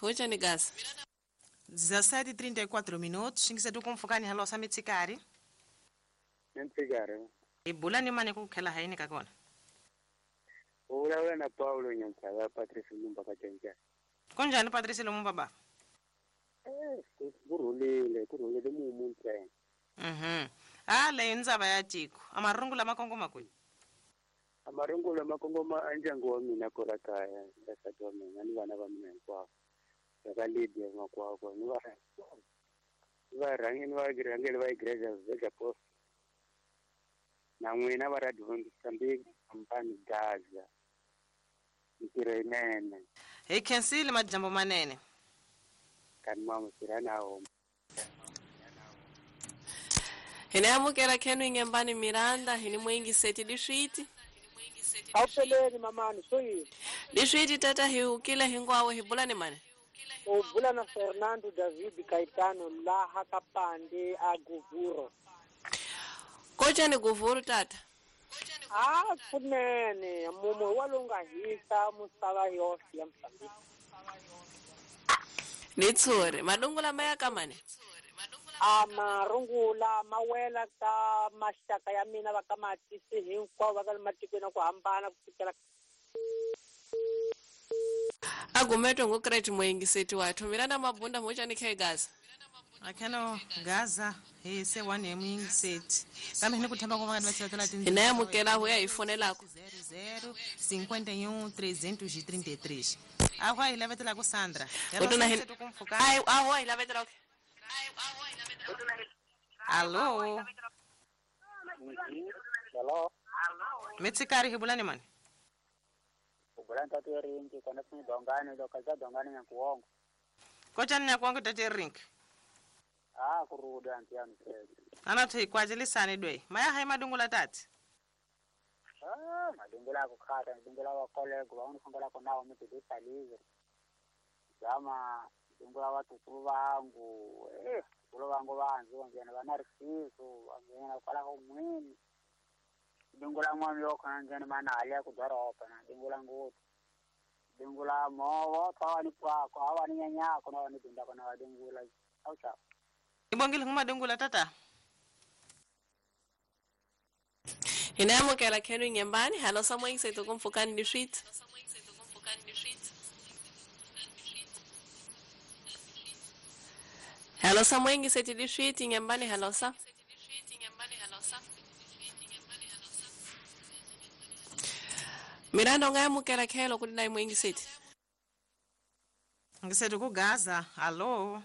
Hochani Gaza. 17:34 minutos. Xingisetu kumfukani halosa mitsikari. Mitsikari. Ibula ni mane kukhela haini ka kona. Ula na Paulo Nyantsala Patrice Lumumba ka Tsentsana. Kunjani Patrice Lumumba ba? Kurhulile, kurhulile mumu ntsena. Ah, leyo ndzaba ya tiko. Amarungula makongoma kwihi? Amarungula makongoma a ndyangu wa mina kwala kaya, nsati wa mina ni vana va mina hinkwavo. Ka Lydia makwakwa ni va varhangeni va rhangeli va igreja Vega Post. Na n'wina va Radio Mozambique Kampani Gaza. Ntirho yinene. Hi khensile majambo manene. Kani mama tirhana homa. Hina amukela khenu ingembani Miranda hini mwingi seti diswiti. Awupheleli mamani soyini. Diswiti tata hi ukile hingwawo hi bulani mane. U bula na Fernando David Caetano laha ka Pande a Guvuro. Kochani Guvuro tata? Ah, kunene mumu wa lowu nga hisa misava yoxe ya Mozambique. Ni tshuri madungula ma ya ka mane? A marungula ma wela ka maxaka ya mina va ka matisi hinkwavo va ka matikweni ya ku hambana ku fikela agumetwe ngukreti moyingiseti wathu Miranda Mabunda mochani khe Gaza. Akheno Gaza hi se one hi muyingiseti kambe hi ni ku themba ku va nga va tila hina yamukela huya hi fonelako 00 51 333 awa hi lavetela ku Sandra. Ai awa hi lavetela. Allo. Hello. Mitsikari hi bulani mani? Ubulani tatu rinki kona funi dongani lokaza dongani nyakuongo. Kochani nyakuongo tatu rinki? Ah, kuruda antiano. Ana thi kwajilisani dwe. Maya hai madungula tati? Ah, madungula kukhata, madungula wa kolego, wa unifungula kona mtu disalize. Zama dungula watu vangu, kulo vangu vanzi wangena vanarisiso, wangena kwala homweni. Dungula mwami yoko ngena mana alia kudoropa na dungula ngutu. Dungula mowo tawani kwako, awani nyanyako na wani dunda kona wa dungula. Au chao. Ibongile nguma dungula tata. Hinayamukela khenu nyembani, halo samwe ngisethu kumfukani dishit. Halo samwe ngisethu dishit nyembani halo sa. Miranda ungayamukela khelo kuti nayi mwingiseti. Ngisethu ku Gaza. Hallo.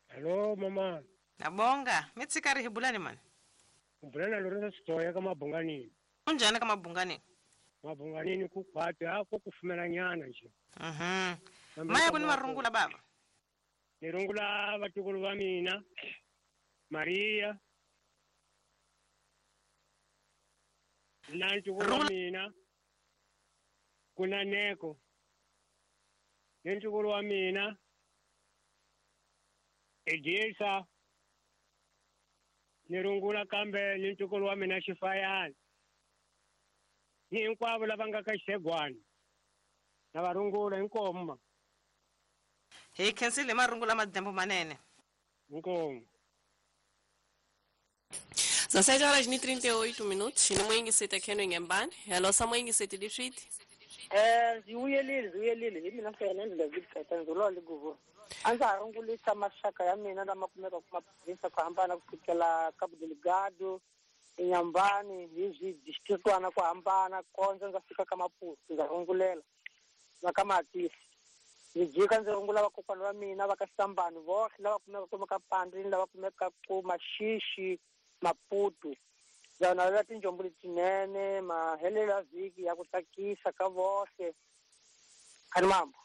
Hello mama. Nabonga, mitsikari hibulani mani? Ubulana Lorenzo Sitoya ka Mabunganini. Unjani ka Mabunganini? Mabunganini ku khwati ako kufumela nyana nje. Maya kuni marungula baba. Nirungula vatukulu va mina. Maria. Na ntukulu wa mina. Kuna neko. Ni ntukulu wa mina. Edisa. Nirungula kambe ni ntukulu wa mina Xifayana. Ni hinkwavo lava nga ka Xegwana. Na va rungula inkomo. Hi khensile marungula madyambu manene. Inkomo. 17 horas e 38 minutos. Ni mwingiseti khenu ngembani. Hello sa mwingiseti dishiti. Ziwuyelile hi mina Fernando David Caetano lo le Guvuro. A ndza ha rungulisa maxaka ya mina lama kumekaka ku maprovinsi ku hambana ku fikela Cabo Delgado, Inhambane, hi swidistrictwana ku hambana kondza ndza fika ka Maputo ndza rungulela na ka Matisi. Ndzi jika ndzi rungula vakokwana va mina va ka Sambani voxe lava kumekaka ka Pandini lava kumekaka ku Maxixi, Maputo. Ndza navela tinjombo letinene mahelelo ya vhiki ya ku tsakisa ka voxe. Khani mambo.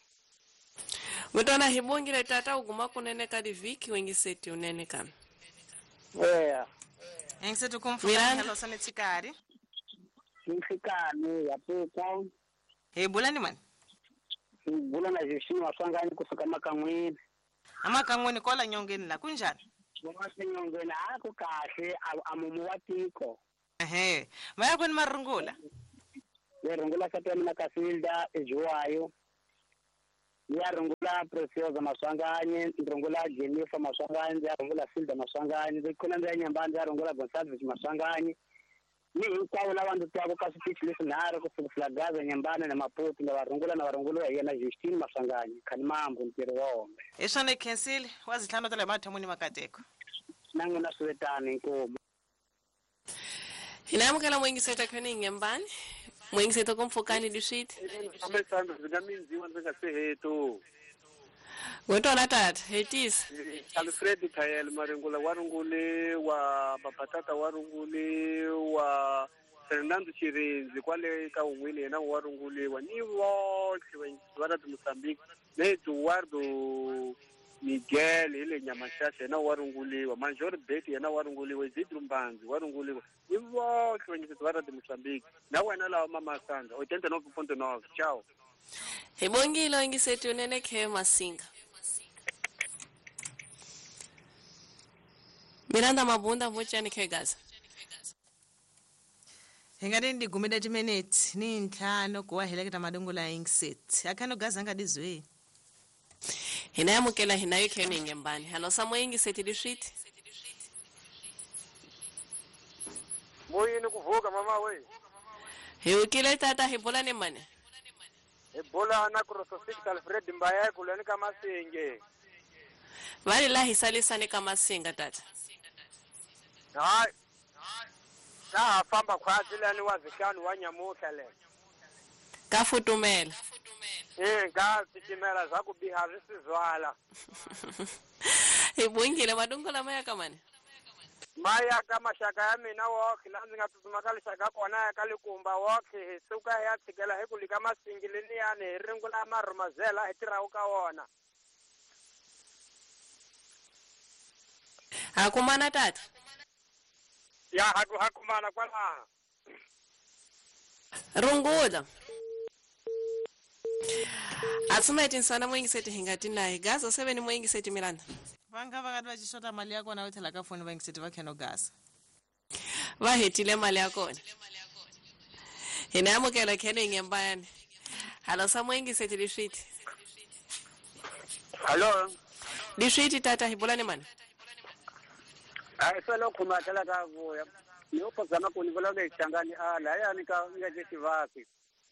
Mutwana hi bongile tata uguma kunene ka divhiki wengiseti unene kami. Yeah. Engisethu kumfukani halo sa mitsikari. Mitsikani ya puka. Hi bulani mani? Hi bulana Jeshini Maswangani kusuka Makan'wini. Amakan'wini kola nyongeni la kunjani? Nyongeni a ku kahle a mumu wa tiko. Ehe, maya kuni marungula. Ni rungula sati ya mina Kasilda eJuwayo. Ya rungula Preciosa Maswanganyi, rungula Jennifer Maswanganyi, ya rungula Silda Maswanganyi, ndzi khona ndzi ya Nyambani, ya rungula Gonsalves Maswanganyi. Ni hinkwavo lava ndzi twaka ka switichi leswinharhu ku sukela Gaza, Nyambani na Maputo, na varungula na varunguliwa hi yena Justine Maswanganyi, Khanimambu ntirho wa hombe. Hi swona hi khensile wa zitlhanu ta le mathomoni makateko. Na n'wina swi vetani inkomu. Hina amukela mwingiseta khani Nyambani. Mwingiseta kumfukani dishiti. Amesando ndzi nga mindziwa ndzi nga se heto. Ngotona tata, hetisa. Alfred Thayel Maringula wa rungule wa Babatata wa rungule wa Fernando Chirinzi kwale ka un'wini yena wa runguliwa ni votlhe va ra Mozambique na Eduardo Miguel hi le Nyamaxaxa yena wa runguliwa Major Bet yena wa runguliwa Isidro Mbanzi wa runguliwa ni votlhe vanyiseti va ra Mozambique na wena lawa Mamasanga 89.9 ciao. Hi bongile ingiseti unene khe Masinga. Miranda Mabunda vochani khe Gaza. Hi nga ndi gumile timinutes ni ntlhanu ku wa heleketa madungula ingiseti. Akhano Gaza nga dizwe. Hina amukela hina yo kheni Nyambani. Halo samwe ingiseti dishiti. Moyini kuvuka mama we. Hi ukile tata hi bola ni mane. Hi bola na Crosofix Alfred Mbaye kuleni ka Masinge. Vale la hisalisane ka Masinga tata. Hayi. Ka famba khwatsi lani wa zihlanu wa nyamuhla le. Ka futumela. Ka titimela za ku biha swi sizwala. Hi bongile madungula maya ka mane. Maya ka maxaka ya mina wokhe la ndzi nga tsutsuma ka lixaka kona ya ka Likumba wokhe hi suka hi ya tshikela hi ku lika Masingi leniyani hi ringula marhumazela hi tirhaku ka wona. Ha kumana tata. Ya ha kumana kwalaha. Rungula. Atsumeti nsana mwingiseti hingati naye Gaza 7 mwingiseti Miranda. Vanga vakati vachishota mali ya kona votlhela ka foni vaingiseti va kheno Gaza. Va hetile mali ya kona. Hina amukela kheno Nyambani. Halo samwe ingiseti dishiti. Halo. Dishiti tata hi bola ni mani. Ai solo khuma tla ka vuya. Ni uphazama ku ni vulavula hi Xangani a lahayani ka nga xivasi.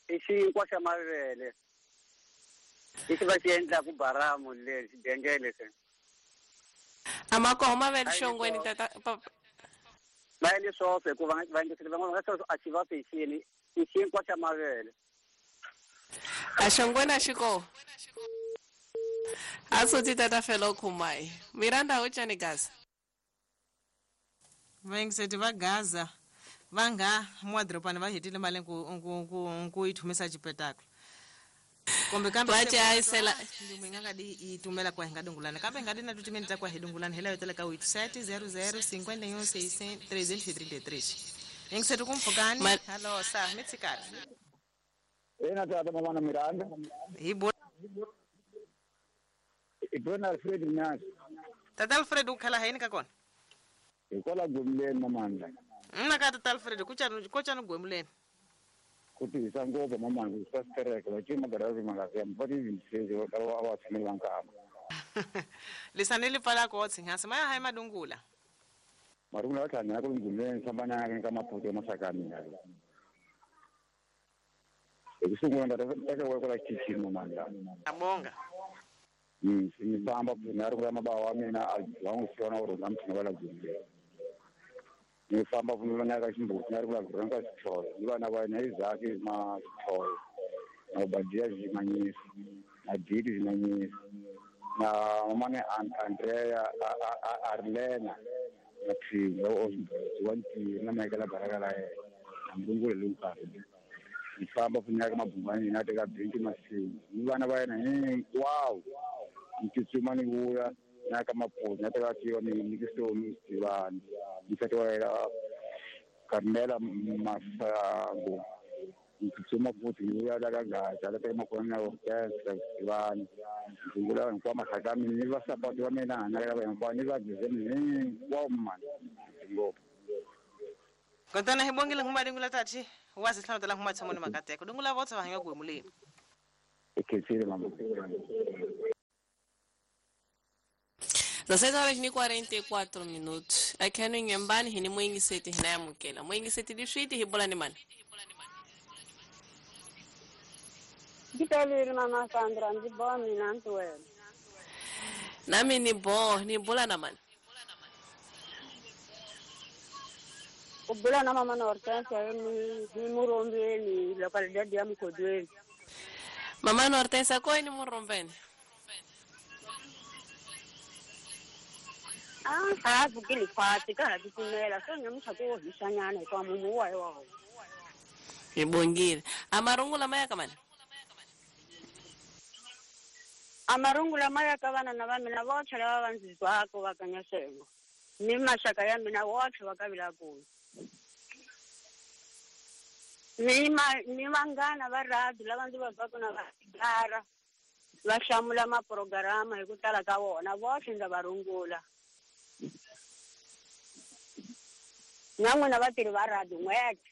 I xinkwa xa mavele. Lexi va xi endlaku baramu le xidengele se. Amakoho mavele xongweni tata. Va endle swoxe hikuva va endlekile van'wana va nga a xivasi hi xini i xinkwa xa mavele. A xongweni a xi koho. A soti tata felo khumai. Miranda ho tshani Gaza. Vaingiseti va Gaza va nga mwadropani va hetile mali ku yi thumisa xipetaklo. Kumbe kambe va chayisela ndzi nga nga di yi tumela kwa hi nga dungulana kambe nga di na timinete ta kwa hi dungulana hi layo tele ka 87 00 51 6 333. Ingiseti kumpfukani. Halo sa mi tshikari. Ena tata mama Miranda. Hi bo Ibona Alfred Mnyanzi. Tata Alfred u khala hayini ka kona? Hikwalaho gwemuleni mamandla. Mna ka tata Alfred ku chani gwemuleni. Ku tihisa ngopfu mamandla swa sitereke va cima garazi mangazi va ti va va tshameli va nkama. Lisani li pfala ko tshinghasi maya hayi madungula. Marungula va tlhana ku gwemuleni famba na ka Maputo ya maxaka ya mina. Hi ku sungula ndza teka wa kwala xitichini mamandla. Abonga. Ni famba na ri mabawa wa mina a va n'wi siona uri na mthina va la gwemuleni. Ni famba ku na ka ximbuti na ri ku la ka xithoyo ni vana va yena Isaac ma xithoyo na Obadia Zimanyisa na Didi Zimanyisa na mamane Andrea Arlena na Philo wa Ntiri na Michael Baraka la yena na Mlungule Lunkari. Ni famba ku na ka Mabungani na teka Binti Masinga ni vana va yena hinkwavo ni tsutsuma ni vuya na ka Maputo na teka tiyo ni Nikisoni Sivani nsati wa yena Carmela Masango ni tsutsuma futhi ni vuya la ka Gaza la teka makona na orchestra Sivani ndzi hinkwavo maxaka ya mina ni vasapoti va mina na ka hinkwavo ni va dizeni hinkwavo mani ngopfu. Kontana hi bongile nguma dingula tati wa zihlanu tala nguma tshamoni makateko dungula votsa va hanya gwemuleni. Ikhensile mama. 16 horas e 44 minutos. Aqui no Inhambane, hini mwingi seti hinayamukela. Mwingi seti liswiti hibola ni mani. Ngiphelile mama Sandra, ndzi boha mina ndzi wena. Nami ni bo, ni bula na mani. U bula na mama na Hortensia ni murombeni localidade ya Mkodweni. Mama na Hortensia ko ni murombeni? Ah, vukile fati ka ha titimela so nyamutlha ku hisanyana hikuva mumu wa wa. Hi bongile. Amarungula maya ka mani? Amarungula maya ka vana na va mina votlhe lava va ndzi twaka va ka Nyasengo. Ni maxaka ya mina votlhe va ka Vilakulu. Ni ni vanghana va radio lava ndzi va twaka na va gara va hlamula maprograma hi ku tala ka vona votlhe ndza va rungula. Na n'wina vatirhi va radio n'wete.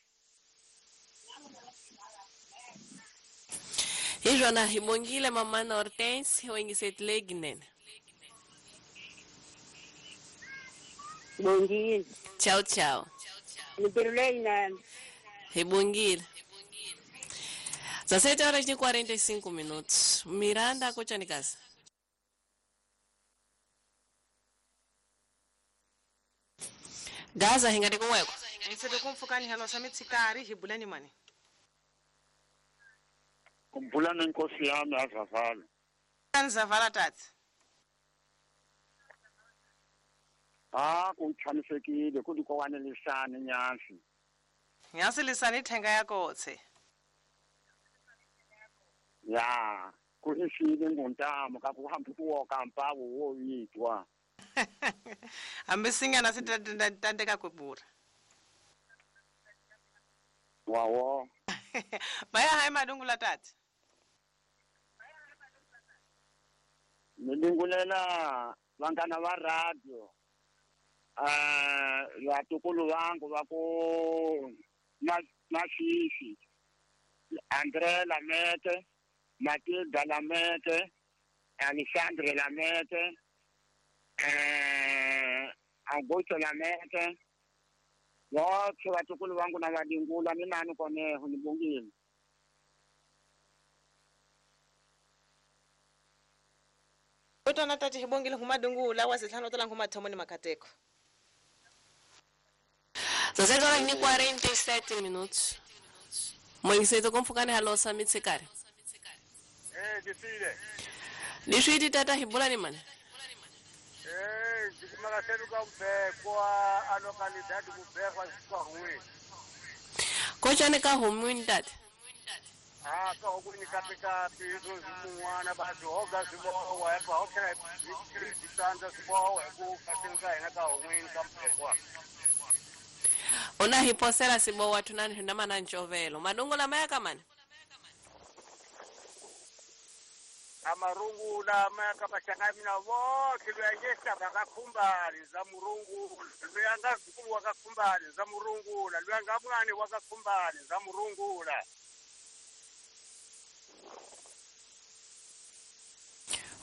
Hi swona hi bongile mama na Hortensia wengisetle ginene. Bongile. Tchau, tchau. Mintirho leyinene. Hi bongile. 17 horas e 45 minutos. Miranda Kochanikasa. Gaza hingati kumweko. Nsete kumfukani halo sa mitsikari hi bulani mani. Kumbulana inkosi yami azavala. Nzavala tata. Ah, kuchanisekile kulikwanelisana nyasi. Nyasi lisani thenga yakotse. Ya, kuhishile ngontamo kakuhamba kuwoka mpawo woyitwa. Hambi singana sitandeka kwebura. Wawo. Baya hayi madungula tata. Nilungulela vangana va radio. Vatukulu vangu va ku Masisi, Andre Lamete, Matilda Lamete, Alexandre Lamete, Augusto Lamete. Wote vatukulu vangu na vadingula ni nani koneho nibongile. Utona tati hibongile humadungula wasihlanu tola ngumathomo ni makateko. 17 horas e 47 minutos. Moiseto kumfukani halo sa mitsikari. Disile. Liswiti tata hibula ni mani. Ndikumakaseluka kubekwa a localidade kubekwa kwa. Kocha ni ka humwini tata. Ah, ka hukuni kapika pizo zimunwana ba hoga zibowa epa hokera distanza zibowa ku katinga ina ka humwini kampekwa. Ona hiposela sibowa tunani hundama na nchovelo. Madungula maya kamani? Amarungula maya kamashaka mina wote luyanyesha bakakhumbali za murungu luyanga zukulu wakakhumbali za murungula luyanga mwane wakakhumbali za murungula.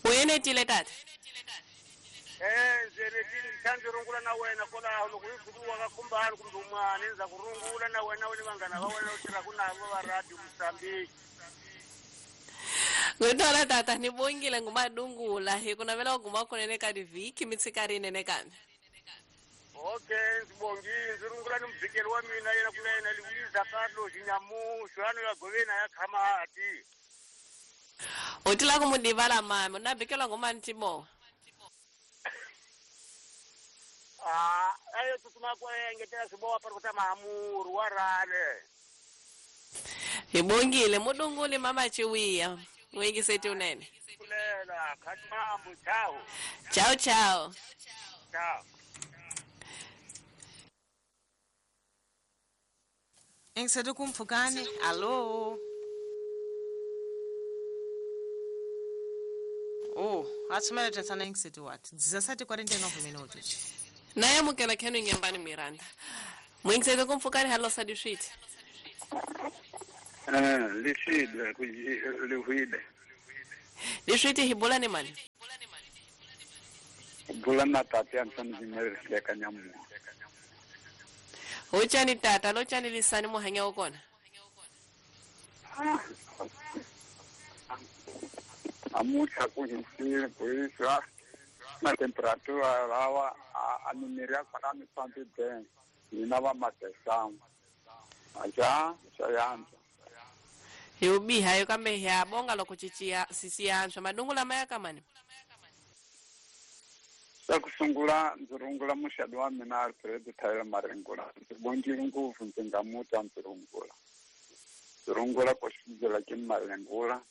Uyenetile tata? Njenetile ngithandirungula na wena kola lokuyizukulu wakakhumbali kumbe umwane nza kurungula na wena wena bangana ba wena uthira kunabo ba radio Mozambique. Ngitola tata nibongile ngumadungula hi kunavela uguma kunene ka diviki mitsikari nene kambe. Okay, ndibongile ndzirungula ni mubikeli wa mina yena kuna yena Luiza Carlos Nyamusho ano ya govena ya Khamati. Utila kumudivala mama unabikelwa ngomani tibo. Ah, ayo tutuma kwa engetela sibowa para kutama amuru warale. Hibongile mudungule mama chiwiya. Wengi setu unene. Kulela khatimambu chao. Chao chao. Chao. Engisetu kumfukani. Allo. Oh, atsumele tensana engisetu what? 17:49 minutos. Naye mukela khenu nyambani Miranda. Mwingisetu kumfukani halo sadishiti. Liside lihwide. Leswi hi bula ni mani? Bula na tata ya ntsana ka nyamu. Hochani tata lochani lisani muhanya wa kona. Amucha ku hisile kuiswa na temperatura lawa a numeria para mi pampi ben ina va matesam. Aja sayanza. Hi ubiha yo kambe hi abonga loko chichia sisi antswa madungula maya kamani. Xa ku sungula ndzi rungula muxadi wa mina Alfred Tyler Maringula. Ndzi bongile ngopfu ndzi nga muta ndzi rungula. Ndzi rungula ku xindzela ke Maringula.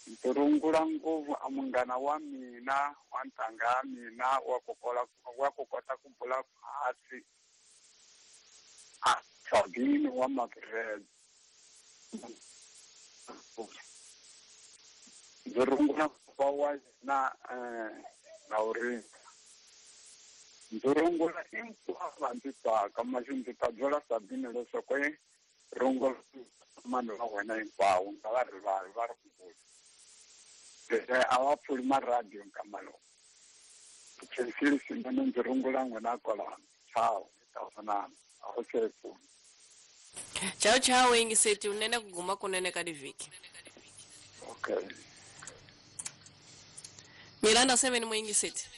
Ndzi rungula ngopfu a munghana wa mina wa ntanga ya mina wa ku kota ku bula hansi. A Sabine wa Magreb. Ndzi rungula wa na Laurent. Ndzi rungula hinkwavo ndzi tsaka maxi ndzi ta byela Sabine leswaku rungula vanhu va wena hinkwavo nga va rivali va rungula. A va pfuli maradiyo nkama lowu. Khensile swinene ndzi rungula n'wina kwalano. Ciao, hi ta vonana. A wu se pfuni. Ciao ciao yingiseti unene ku guma kunene ka divhiki. Okay. Miranda 7 muyingiseti.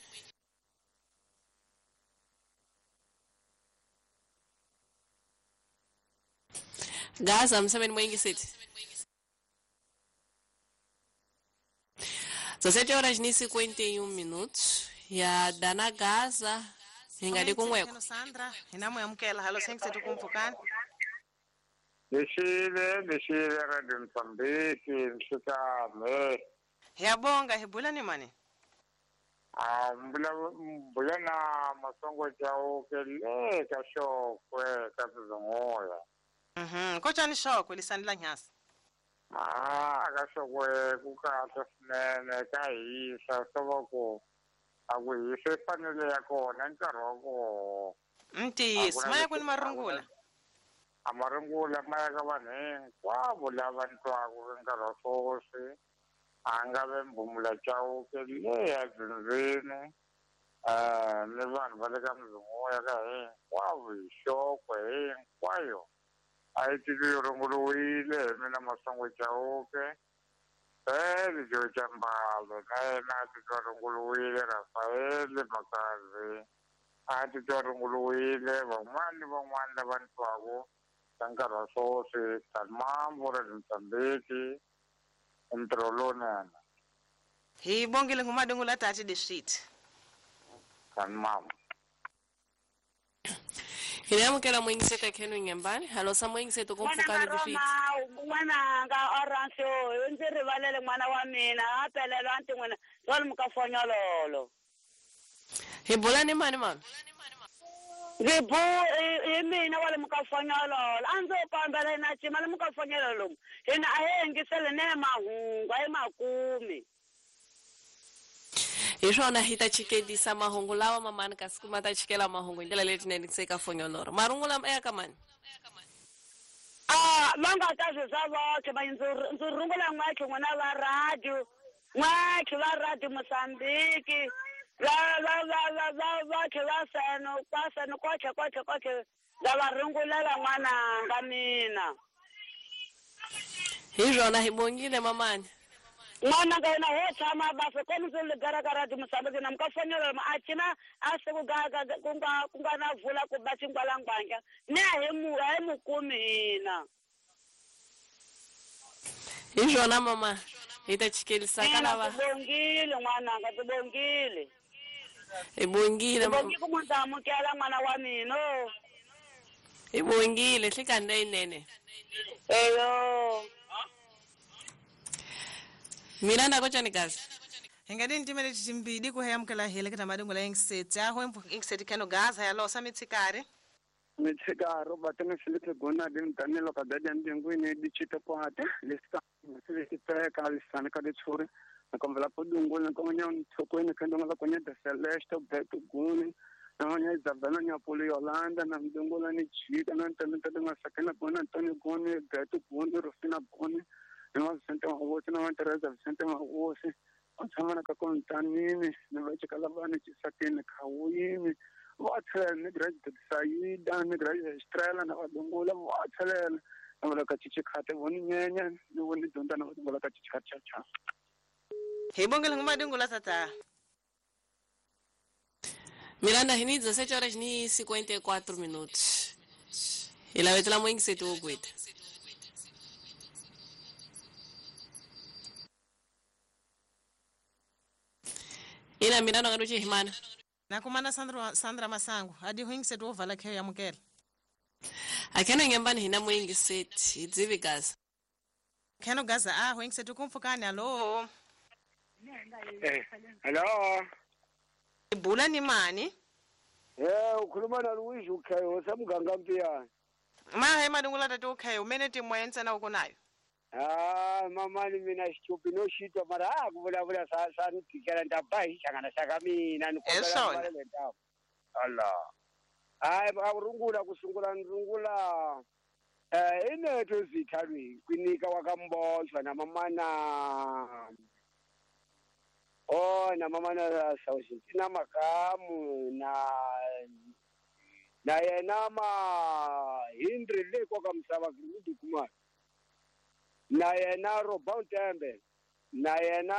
Gaza 7 muyingiseti. 17 horas e 51 minutos. Ya dana Gaza hingali kunweko. Sandra, hina muyamukela halo sengsetu kumpfukani. Lexile Radio Mozambique nhlekani. Hiyabonga hi bula ni mani? Ah, mbula na Masongo Chauke le ka Xokwe ka Sizunguya. Kochani Xokwe lisani la nyasi. Ah, ka Xokwe ku kahle swinene ka hisa swo va ku a ku hisa i fanele ya kona nkarhi wa kona. Ntiyiso maya ku ni marungula. A marungula maya ka vanhu hinkwavo lava ntwaku nkarhi wa sweswi. A nga ve Mbumula Chauke le ya Dzindzini ni vanhu va le ka Mzunguya ka hinkwavo hi Xokwe hinkwayo a yi titwi yi runguriwile hi mina Masongo Chauke Joe Chambalo na yena a titwa runguriwile Rafael Makazi a titwa runguriwile van'wana ni van'wana lava ni twaku ka nkarhi wa sweswi Talmambo ra Mozambique ntirho lowunene. Hi bongile ngumadungula tati dixit. Talmambo. Hinamukela mwingiseta khenu nyambani halo sa mwingiseto kumpfukani dixit. N'wananga Orange ndzi rivalele n'wana wa mina a pelelwa ntin'wina swali mukafonyololo. Hi bula ni mani mama? Ndzi bu hi mina wa le mukafonyololo a ndzi kombela na cima le mukafonyololo hina a hi yingisele ne mahungu a hi makumi. Hi swona hi ta chikedisa mahungu lawa mamani kasi kuma ta chikela mahungu hi ndlela letinene se ka fonyoloro. Marungula ya ka mani? Ah, va nga ta swi swa voxe va ndzi rungula n'waxe n'wina va radio n'waxe va radio Mozambique va va va va va voxe va seno kwa seno koxe koxe koxe ndza va rungulela n'wananga mina. Hi swona hi bongile mamani. N'wananga yena ho tshama basa komu ndzi ligara ka radio Mozambique na mukafonyololo a cina a se ku nga na vula ku ba xingwalangwanja ni a hi mukumi hina. Hi swona mama hi ta chikelisa ka lava. Tibongile n'wananga tibongile. Hi bongile. Tibongile ku munhu amukela n'wana wa mina. Hi bongile hlekani leyinene. Eyo. Miranda kochani gazi. Hingadini timele timbidi ku heyamukela hele kita madungula yingiseti aho ingiseti keno gaza ya losa mitsikari. Mitsikari Robert ni Philip Gona din Danilo ka dadi ndingwini dichita kwate lista lisiteka lisana ka ditshuri na komvela podungula konya nthokweni kendo nga konya de Celeste Beto Guni na nya Isabella nya Poli Yolanda na ndungula ni chika na ntende nga sakena gona Antonio Goni Beto Goni Rufina Goni Ni va Vicente Mahosi na va Teresa Vicente Mahosi. Va tshama na ka Kontanini ni va chikala vana Chisakeni Khawini. Va tlhela ni graduate Saida ni graduate Estrella na va Dungula va tlhela na va ka Chichikhate voni nyenya ni voni dyondza na va Dungula ka Chichikhate cha cha. Hi bongele nguma Dungula tata. Miranda hini 17 horas ni 54 minutos. Ila vetela mwingi setu ukwita. Ila Miranda ngaruche himana. Nakumana Sandra Masango adi huingi setu ovala khe ya mukela. Akena ngembani hina mwingi seti idzivi gaza. Kheno gaza a huingi setu kumfukani alo. Hello. Ibula ni mani? Ukhuluma na Luigi ukhayo osemganga mpiyana. Mahe madungula tatu ukhayo umene timu yenza na uko nayo. Ah, mama ni mina xitupi no xitwa mara a ku vulavula sa ni tikela ni ta ba hi hlangana xa ka mina ni kombela le ndhawu. Allah. Hayi a rungula ku sungula ni rungula inetho zithalwi kwinika wa kamboshwa na mamana. Oh, na mamana Sausintina Makamu na yena ma Hindri le kwa kamsava kudu kuma. Na yena Robon Tembe, na yena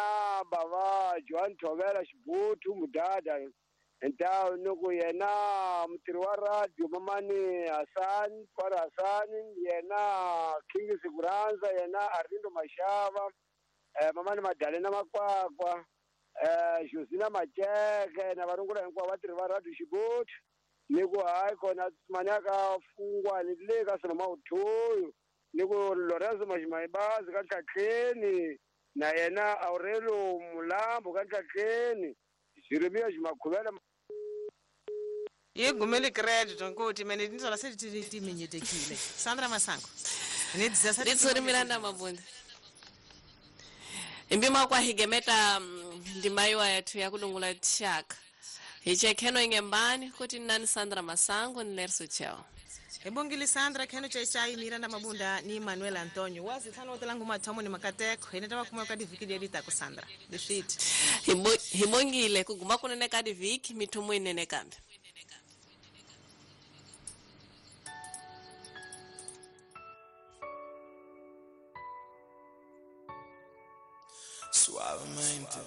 baba Joan Tovela Shibutu Mudada, nta nuku yena mutiri wa radio mamani Hassan, Kwara Hassan, yena King Siguranza, yena Arindo Mashava, mamani Madalena Makwakwa, Josina Macheke, na varungula hinkwavo vatirhi va radio Xibutu, ni ku hayi kona manyaka fungwa ni le ka swilo mawuthuyu. Niku Lorenzo Majimayibazi ka Ntlhatlheni na yena Aurelio Mulambo ka Ntlhatlheni Jeremia Jimakhuvela Ye gumele credit nkuti mene tinzola se timinyetekile Sandra Masango ni 17 Miranda Mabunda Imbima kwa higemeta ndimayiwa yathu ya kulungula tshaka Hichekheno ingembani kuti nani Sandra Masango ni Lerso Chao. Ebongile Sandra kheno chai Miranda Mabunda ni Manuel Antonio wazi tlhano otelangu mathomo ni makateko ene tava kuma ka diviki leri tako Sandra leswiti Hibongile kuguma kunene ka diviki mithumo inene kambe. Suavemente.